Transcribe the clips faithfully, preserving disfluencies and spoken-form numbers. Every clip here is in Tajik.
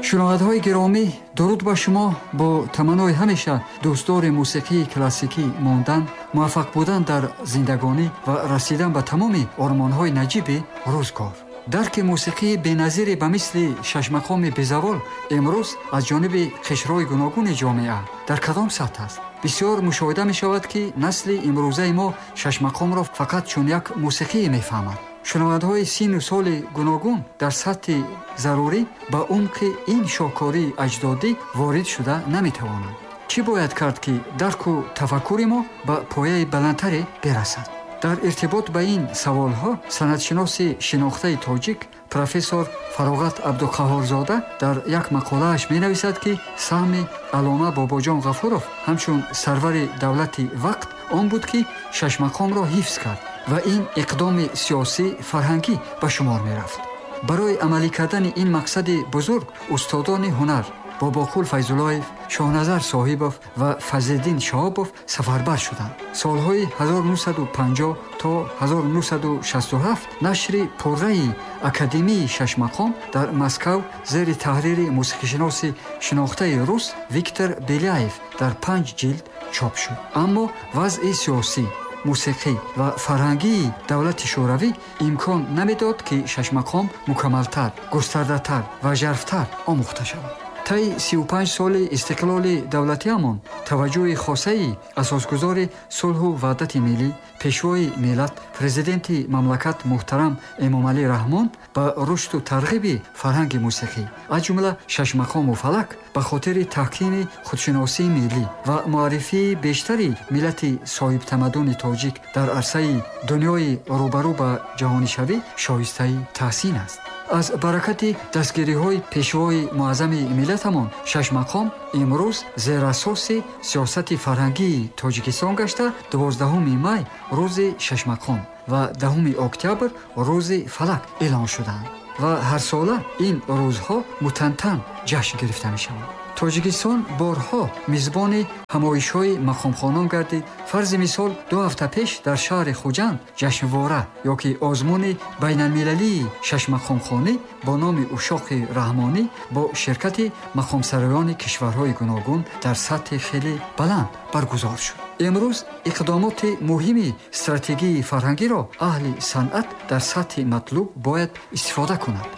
Шунавандаҳои гиромӣ, дуруд ба шумо. Бо таманнои ҳамеша дӯстдори мусиқии классикӣ мондан, муваффақ будан дар зиндагонӣ ва расидан ба тамоми ормонҳои наҷиби рӯзгор. Дарки мусиқии беназире ба мисли шашмақоми безавол имрӯз аз ҷониби қишрҳои гуногуни ҷомеа дар кадом сатҳ аст? Бисёр мушоҳида мешавад, ки насли имрӯзаи мо шашмақомро фақат чун як мусиқие мефаҳмад. Шунавандаҳои сину соли гуногун дар сатҳи зарурӣ ба умқи ин шоҳкории аҷдодӣ ворид шуда наметавонанд. Чӣ бояд кард, ки дарку тафаккури мо ба пояи баландтаре бирасад? Дар иртибот ба ин саволҳо санъатшиноси шинохтаи тоҷик профессор Фароғат Абдуқаҳҳорзода дар як мақолааш менависад, ки саҳми Аллома Бобоҷон Ғафуров ҳамчун сарвари давлати вақт он буд, ки шашмақомро ҳифз кард ва ин иқдоми сиёсӣ фарҳангӣ ба шумор мерафт. Барои амалӣ кардани ин мақсади бузург устодони ҳунар Бобоқул Файзуллоев, Шоҳназар Соҳибов ва Фазлиддин Шаҳобов сафарбар шуданд. Солҳои ҳазору нӯҳсаду панҷоҳ то ҳазору нӯҳсаду шасту ҳафт нашри пурраи Академияи шашмақом дар Москав зери таҳрири мусиқишиноси шинохтаи рус Виктор Беляев дар панҷ ҷилд чоп шуд. Аммо вазъи сиёсӣ, мусиқӣ ва фарҳангии давлати Шӯравӣ имкон намедод, ки шашмақом мукаммалтар, густардатар ва жарфтар омӯхта шавад. Таи сию панҷ соли истиқлоли давлатиамон таваҷҷӯҳи хосаи асосгузори сулҳу ваҳдати миллӣ, пешвои миллат, президенти мамлакат муҳтарам Эмомалӣ Раҳмон ба рушду тарғиби фарҳанги мусиқӣ, аз ҷумла шашмақому фалак, ба хотири таҳкими худшиносии миллӣ ва муаррифии бештари миллати соҳибтамаддуни тоҷик дар арсаи дунёи рӯбарӯ ба ҷаҳонишавӣ шоистаи таҳсин аст. Аз баракати дастгириҳои пешвои муаззами миллатамон шашмақом имрӯз зерасоси сиёсати фарҳангии Тоҷикистон гашта, дувоздаҳуми май рӯзи шашмақом ва даҳуми октябр рӯзи фалак эълон шуданд ва ҳарсола ин рӯзҳо мутантан ҷашн гирифта мешаванд. Тоҷикистон борҳо мизбони ҳамоишҳои мақомхонон гардид. Фарзи мисол, ду ҳафта пеш дар шаҳри Хуҷанд ҷашнвора ёки озмуни байналмилалии шашмақомхонӣ бо номи Ушоқи Раҳмонӣ бо ширкати мақомсароёни кишварҳои гуногун дар сатҳи хеле баланд баргузор шуд. Имрӯз иқдомоти муҳими стратегии фарҳангиро аҳли санъат дар сатҳи матлуб бояд истифода кунад.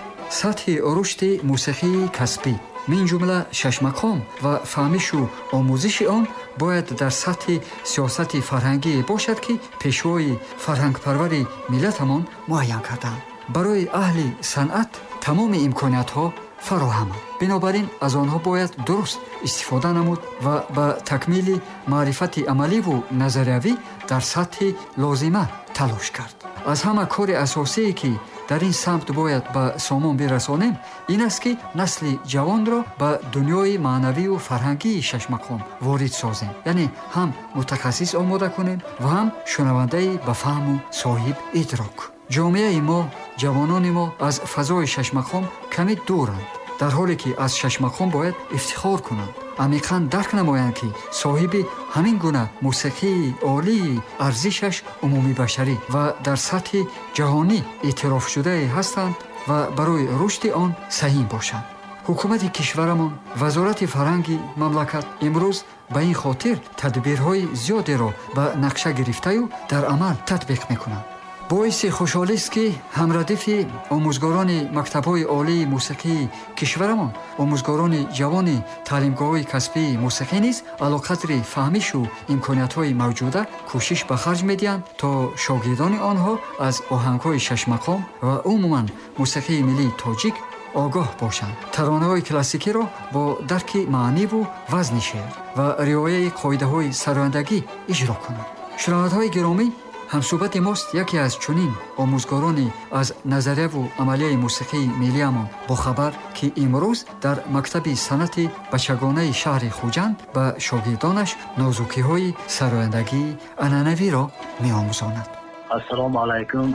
Сатҳи рушди мусиқии касбӣ, мин ҷумла шашмақом ва фаҳмишу омӯзиши он бояд дар сатҳи сиёсати фарҳангие бошад, ки пешвои фарҳангпарвари миллатамон муайян карданд. Барои аҳли санъат тамоми имкониятҳо фароҳаманд. Бинобар ин аз онҳо бояд дуруст истифода намуд ва ба такмили маърифати амаливу назариявӣ дар сатҳи лозима талош кард. Аз ҳама кори асосие, ки дар ин самт бояд ба сомон бирасонем, ин аст, ки насли ҷавонро ба дунёи маънавию фарҳангии шашмақом ворид созем, яъне ҳам мутахассис омода кунем ва ҳам шунавандаи ба фаҳму соҳиб идрок. Ҷомеаи мо, ҷавонони мо аз фазои шашмақом каме дуранд, дар ҳоле ки аз шашмақом бояд ифтихор кунанд, амиқан дарк намоянд, ки соҳиби ҳамин гуна мусиқии олии арзишаш умумибашарӣ ва дар сатҳи ҷаҳонӣ эътирофшудае ҳастанд ва барои рушди он саҳим бошанд. Ҳукумати кишварамон, Вазорати фарҳанги мамлакат имрӯз ба ин хотир тадбирҳои зиёдеро ба нақша гирифтаю дар амал татбиқ мекунанд. Боиси хушҳолист, ки ҳамрадифи омӯзгорони мактабҳои олии мусиқии кишварамон, омӯзгорони ҷавони таълимгоҳҳои касбии мусиқӣ низ алоқадри фаҳмишу имкониятҳои мавҷуда кӯшиш ба харҷ медиҳанд, то шогирдони онҳо аз оҳангҳои шашмақом ва умуман мусиқии миллии тоҷик огоҳ бошанд, таронаҳои классикиро бо дарки маъниву вазни шеър ва риояи қоидаҳои сарояндагӣ иҷро кунанд. Шунавандаҳои гиромӣ, ҳамсӯҳбати мост яке аз чунин омӯзгорони аз назарияву амалияи мусиқии миллиамон бохабар, ки имрӯз дар мактаби санъати бачагонаи шаҳри Хуҷанд ба шогирдонаш нозукиҳои сарояндагии анъанавиро меомӯзонад. Ассалому алайкум.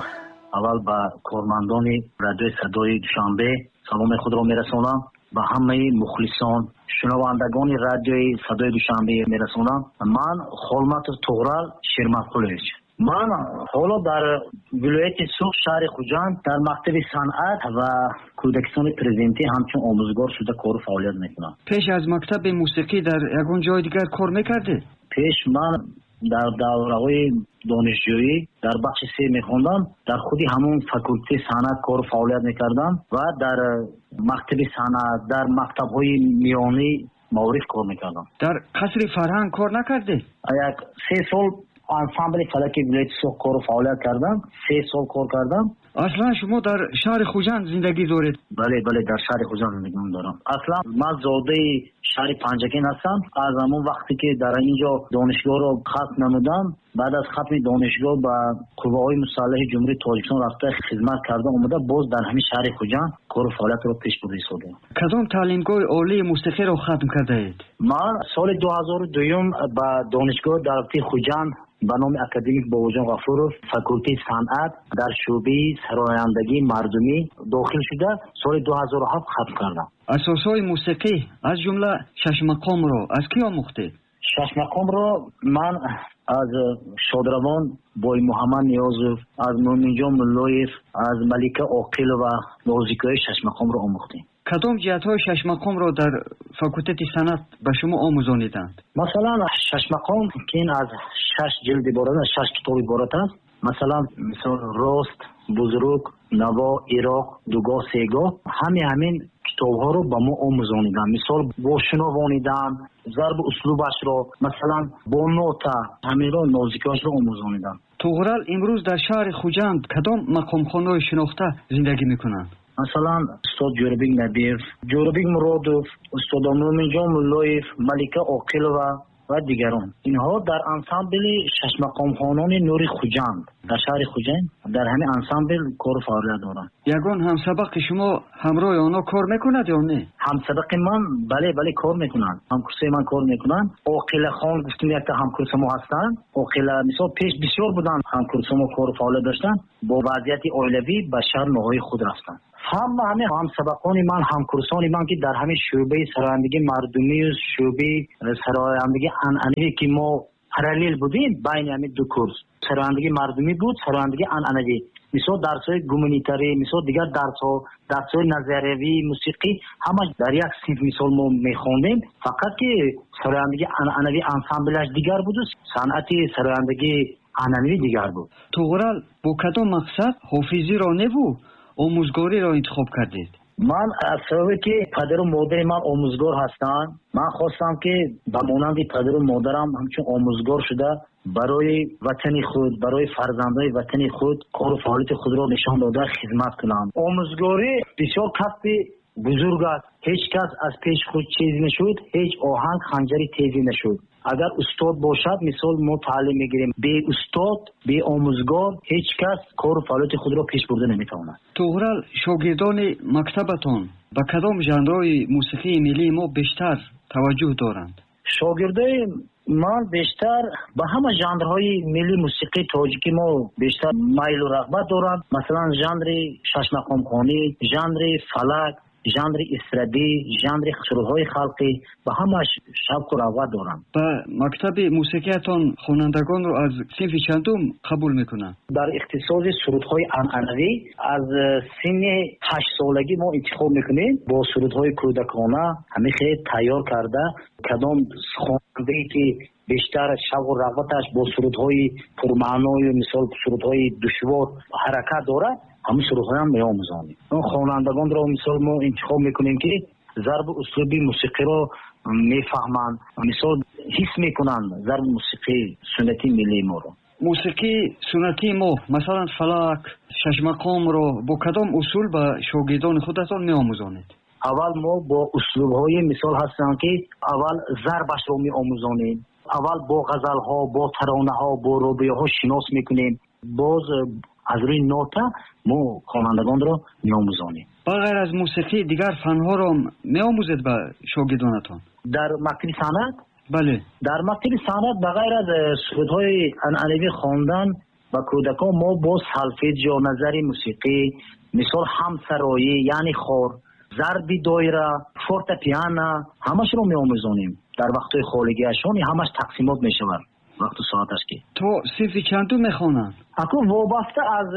Аввал ба кормандони радиои Садои Душанбе саломи худро мерасонам, ба ҳамаи мухлисон, шунавандагони радиои Садои Душанбе мерасонам. Ман Холматов Туғрал Шерматқулович, Ман ҳоло дар вилояти Суғд, шаҳри Хуҷанд, дар мактаби санъат ва кӯдакистони президентӣ ҳамчун омӯзгор шуда кору фаъолият мекунам. Пеш аз мактаби мусиқӣ дар ягон ҷои дигар кор мекардед? Пеш ман дар давраҳои донишҷӯӣ дар бахши се мехондам, дар худи ҳамон факултети санъат кору фаъолият мекардам ва дар мактаби санъат, дар мактабҳои миёнӣ маориф кор мекардам. Дар қасри фарҳанг кор накардед? Як се сол ансамбли фалаки вилояти Суғд кору фаъолият кардам, се сол кор кардам. Аслан шумо дар шаҳри Хуҷанд зиндагӣ доред? Бале, бале, дар шаҳри Хуҷанд зиндагӣ дорам. Аслан ман зодаи шаҳри Панҷакент ҳастам. Аз ҳамон вақте ки дар инҷо донишгоҳро хатм намудам, баъд аз хатми донишгоҳ ба қувваҳои мусаллаҳи Ҷумҳурии Тоҷикистон рафта хизмат карда омада, боз дар ҳамин шаҳри Хуҷанд кору фаъолиятро пеш бурда истодаам. Кадом таълимгоҳи олии мусиқиро хатм кардаед? Ман соли ду ҳазору дуюм ба донишгоҳи давлатии Хуҷанд ба номи академик Бобоҷон Ғафуров, факултети санъат дар шӯъбаи сарояндагии мардумӣ дохил шуда, соли ду ҳазору ҳафт хатм кардам. Асосҳои мусиқӣ аз ҷумла шашмақомро аз кӣ омӯхтед? Шашмақомро ман аз шодравон Боймуҳаммад Ниёзов, аз Мӯминҷон Муллоев, аз Малика Оқилова нозикиҳои шашмақомро омӯхтем. Кадом ҷиҳатҳои шашмақомро дар факултети санъат ба шумо омӯзониданд? Масалан, шашмақом ки ин аз шаш ҷилд иборат аст, шаш китоб иборат аст. Масалан, мисол рост, бузург, наво, ироқ, дугоҳ, сегоҳ, ҳамин ҳамин китобҳоро ба мо омӯзониданд. Мисол бо шунавониданд, зарбу услубашро, масалан бо нота, ҳаминро нозикиҳояшро омӯзониданд. Туғрал имрӯз дар шаҳри Хуҷанд кадом мақомхонаҳои шинохта зиндагӣ мекунанд? Масалан, устод Ҷӯрабек Набиев, Ҷӯрабек Муродов, устод Мӯминҷон Муллоев, Малика Оқилова ва дигарон. Инҳо дар ансамбли шашмақомхонони Нури Хуҷанд дар шаҳри Хуҷанд дар ҳамин ансамбл кору фаъолият доранд. Ягон ҳамсабақи шумо ҳамроҳи онҳо кор мекунад ё не? Ҳамсабақи ман бале, бале, кор мекунанд. Ҳамкурсаи ман кор мекунанд. Оқилахон гуфтем якта ҳамкурса мо ҳастанд. Оқила мисол пеш бисёр буданд ҳамкурса мо кору фаъолият доштанд, бо вазъияти оилавӣ ба шаҳр ноҳияи худ рафтанд. Ҳама ҳамин ҳамсабақони ман, ҳамкурсони ман ки дар ҳамин шӯъбаи сарояндагии мардумию шӯъбаи сарояндагии анъанавӣ ки мо параллел будем байни ҳамин ду курс, сарояндагии мардумӣ буд, сарояндагии анъанавӣ. Мисол дарсҳои гуманитарӣ, мисол дигар дарсҳо, дарсҳои назариявии мусиқӣ ҳамаш дар як синф мисол мо мехондем. Фақат ки сарояндагии анъанавӣ ансамблаш дигар буду санъати сарояндагии анъанавӣ дигар буд. Туғрал бо кадом мақсад ҳофизиро неву омӯзгориро интихоб кардед? Ман аз сабабе ки падару модари ман омӯзгор ҳастанд, ман хостам ки ба монанди падару модарам ҳамчун омӯзгор шуда барои ватани худ, барои фарзандони ватани худ кору фаъолияти худро нишон дода хизмат кунам. Омӯзгорӣ бисёр касби бузург аст. Ҳеҷ кас аз пеши худ чиз нашуд, ҳеҷ оҳанг ханҷари тезӣ нашуд. Агар устод бошад, мисол мо таълим мегирем. Бе устод, бе омӯзгор ҳеҷ кас кору фаъолияти худро пеш бурда наметавонад. Туғрал, шогирдони мактабатон ба кадом жанрҳои мусиқии миллии мо бештар таваҷҷӯҳ доранд? Шогирдои ман бештар ба ҳама жанрҳои миллии мусиқии тоҷикӣ мо бештар майлу рағбат доранд. Масалан, жанри шашмақомхонӣ, жанри фалак, жанри эстрадӣ, жанри сурудҳои халқӣ ба ҳамаш шавқу рағбат доранд. Ба мактаби мусиқиятон хонандагонро аз синфи чандум қабул мекунанд? Дар ихтисоси сурудҳои анъанавӣ аз синни ҳаштсолагӣ мо интихоб мекунем бо сурудҳои кӯдакона ҳамин хел тайёр карда, кадом хонандае ки бештар шавқу рағбаташ бо сурудҳои пурмаъною мисол сурудҳои душвор ҳаракат дорад, ҳамин сурудҳоям меомӯзонем. Он хонандагонро мисол мо интихоб мекунем ки зарбу услуби мусиқиро мефаҳманд, мисол ҳис мекунанд зарби мусиқии суннатии миллии моро. Мусиқии суннатии мо, масалан фалак, шашмақомро бо кадом усул ба шогирдони худатон меомӯзонед? Аввал мо бо услубҳои мисол ҳастанд ки аввал зарбашро меомӯзонем, аввал бо ғазалҳо, бо таронаҳо, бо рубоиҳо шинос мекунем, боз аз рӯи нота мо хонандагонро меомӯзонем. Ба ғайр аз мусиқӣ дигар фанҳоро меомӯзед ба шогирдонатон? Дар мактаби санъат? Бале. Дар мактаби санъат ба ғайр аз сурудҳои анъанавӣ хондан ба кӯдакон мо боз солфеҷио, назари мусиқӣ, мисол ҳамсароӣ, яъне хор, зарби доира, фортепиано ҳамашро меомӯзонем. Дар вақтҳои холигиашон ҳамаш тақсимот мешавад. Вақту соаташ ки. То синфи чандум мехонанд? Акун вобаста аз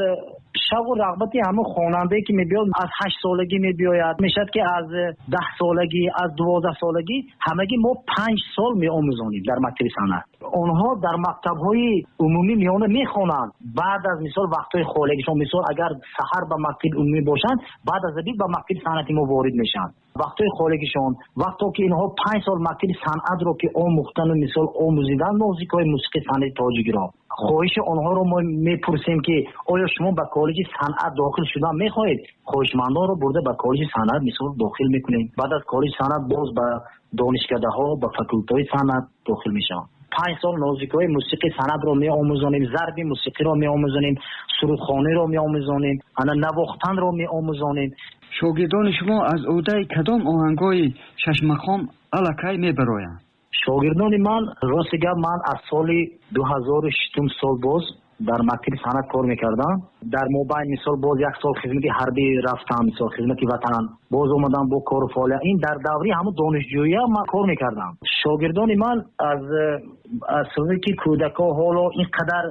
шавқу рағбати ҳамон хонандае ки мебиёд, аз ҳашт солагӣ мебиёяд, мешавад ки аз даҳ солагӣ, аз дувоздаҳ солагӣ, ҳамагӣ мо панҷ сол меомӯзонем дар мактаби санъат. Онҳо дар мактабҳои умумӣ миёна мехонанд. Баъд аз мисол вақтҳои холигишон, мисол агар саҳар ба мактаби умумӣ бошанд, баъд аз обид ба мактаби санъати мо ворид мешаванд. Вақтҳои холигишон, вақто ки инҳо панҷ сол мактаби санъатро ки омӯхтану мисол омӯзидан нозикҳои мусиқии санъати тоҷикиро, хоҳиши онҳоро мо мепурсем ки оё шумо ба коллеҷи санъат дохил шудан мехоҳед? Хоҳишмандонро бурда ба коллеҷи санъат мисол дохил мекунем. Баъд аз коллеҷи санъат боз ба донишкадаҳо, ба факултаҳои санъат дохил мешаванд. Панҷ сол нозикҳои мусиқии санъатро меомӯзонем, зарби мусиқиро меомӯзонем, сурудхониро меомӯзонем, ана навохтанро меомӯзонем. Шогирдони шумо аз ӯҳдаи кадом оҳангҳои шашмақом аллакай мебароянд? Шогирдони ман, рости гап, ман аз соли ду ҳазору шастум сол боз дар мактаби санъат кор мекардам. Дар мобайн мисол боз як сол хизмати ҳарбӣ рафтам, мисол хизмати ватан, боз омадам бо кору фаъолият. Ин дар даври ҳамон донишҷӯия ман кор мекардам. Шогирдони ман аз аз сабаби ки кӯдакҳо ҳоло ин қадар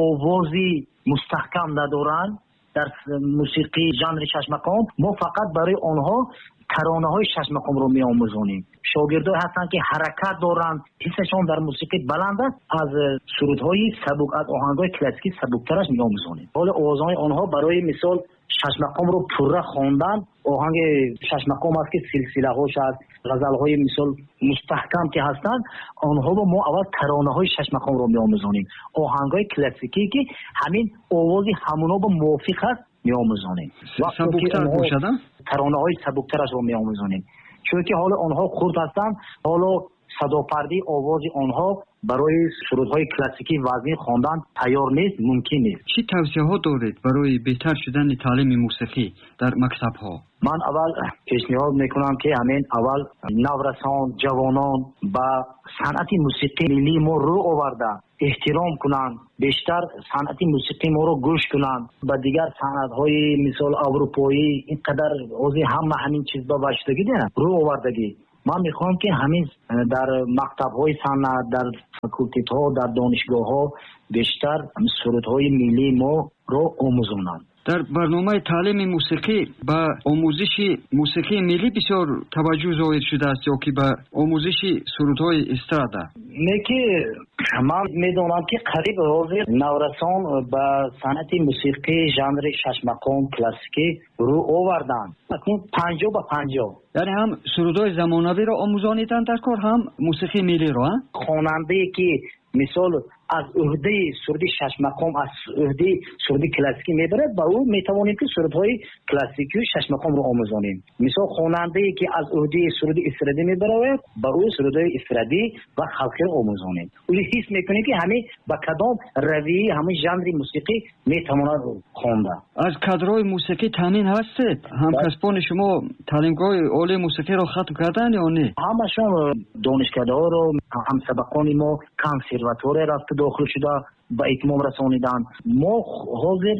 овози мустаҳкам надоранд дар мусиқии жанри шашмақом, мо фақат барои онҳо таронаҳои шашмақомро меомӯзонем. Шогирдое ҳастанд ки ҳаракат доранд, ҳиссашон дар мусиқӣ баланд аст, аз сурудҳои сабук, аз оҳангҳои классикӣ сабуктараш меомӯзонем. Ҳоло овозҳои онҳо барои мисол шашмақомро пурра хондан, оҳанги шашмақом аст ки силсилаҳош аст, ғазалҳои мисол мустаҳкам ки ҳастанд, онҳоро мо аввал таронаҳои шашмақомро меомӯзонем. Оҳангҳои классикӣ ки ҳамин овози ҳамонҳо бо мувофиқ аст меомӯзонем. Сабуктар бошад, таронаҳои сабуктарашро меомӯзонем. Чунки ҳоло онҳо хурд ҳастанд, ҳоло садопардаи овози онҳо барои сурудҳои классикӣ вазнин хондан тайёр нест, мумкин нест. Чӣ тавсияҳо доред барои беҳтар шудани таълими мусиқӣ дар мактабҳо? Ман аввал пешниҳод мекунам ки ҳамин аввал наврасон, ҷавонон ба санъати мусиқии миллии мо рӯ оварда эҳтиром кунанд, бештар санъати мусиқии моро гӯш кунанд. Ба дигар санъатҳои мисол аврупоӣ ин қадар ҳозир ҳама ҳамин чиз ба ваштагӣ рӯ овардагӣ. Ман мехоҳам ки ҳамин дар мактабҳои санъат, дар факултетҳо, дар донишгоҳҳо бештар сурудҳои миллии моро омӯзонанд. Дар барномаи таълими мусиқӣ ба омӯзиши мусиқии миллӣ бисёр таваҷҷӯҳ зоҳир шудааст ё ки ба омӯзиши сурудҳои эстрада? Не ки ман медонам ки қариб ҳозир наврасон ба санъати мусиқӣ жанри шашмақом классикӣ рӯ оварданд. Акнун панҷоҳ ба панҷоҳ. Яъне ҳам сурудҳои замонавиро омӯзониданд дар кор, ҳам мусиқии миллиро, а? Хонандае ки мисол аз ӯҳдаи суруди шашмақом, аз ӯҳдаи суруди классикӣ мебарад, ба ӯ метавонем ки сурудҳои классикию шашмақомро омӯзонем. Мисол хонандае ки аз ӯҳдаи суруди эстрадӣ мебарояд, ба ӯ сурудҳои эстрадӣ ва халқиро омӯзонем. Ӯ ҳис мекунем ки ҳамин ба кадом равияи ҳамин жанри мусиқӣ метавонад хонда. Аз кадрҳои мусиқӣ таъмин ҳастед? Ҳамкасбони шумо таълимгоҳи олии мусиқиро хатм карданд ё не? Ҳамашон донишкадаҳоро, ҳамсабақони мо консерватория рафта дохил шуда ба итмом расониданд. Мо ҳозир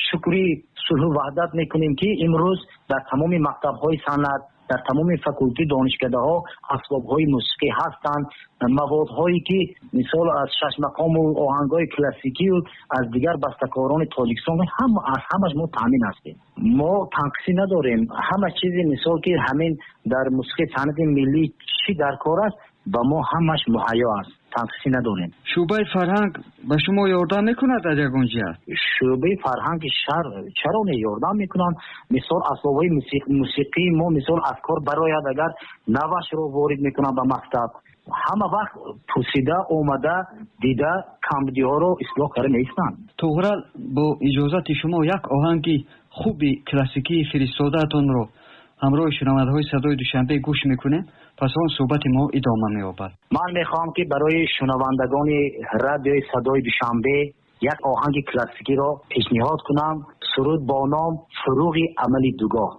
шукри сулҳу ваҳдат мекунем ки имрӯз дар тамоми мактабҳои санъат, дар тамоми факулти донишкадаҳо асбобҳои мусиқӣ ҳастанд, маводҳое ки мисол аз шашмақому оҳангҳои классикию аз дигар бастакорони Тоҷикистон ҳам аз ҳамаш мо таъмин ҳастем. Мо танқисӣ надорем. Ҳама чизи мисол ки ҳамин дар мусиқии санъати миллӣ чӣ дар кор аст, ба мо ҳамаш муҳайё аст, танқисӣ надорем. Шӯъбаи фарҳанг ба шумо ёрдам мекунад аз ягон ҷиҳат? Шӯъбаи фарҳанги шаҳр чаро не ёрдам мекунанд? Мисол асбобҳои мусиқии мо мисол аз кор барояд, агар навашро ворид мекунанд ба мактаб, ҳама вақт пурсида омада дида камбудиҳоро ислоҳ карда меистанд. Туғрал, бо иҷозати шумо як оҳанги хуби классикии фиристодаатонро ҳамроҳи шунавандаҳои садои Душанбе гӯш мекунем, пас он суҳбати мо идома меёбад. Ман мехоҳам ки барои шунавандагони радиои садои Душанбе як оҳанги классикиро пешниҳод кунам. Суруд бо ном Фурӯғи амали дугоҳ.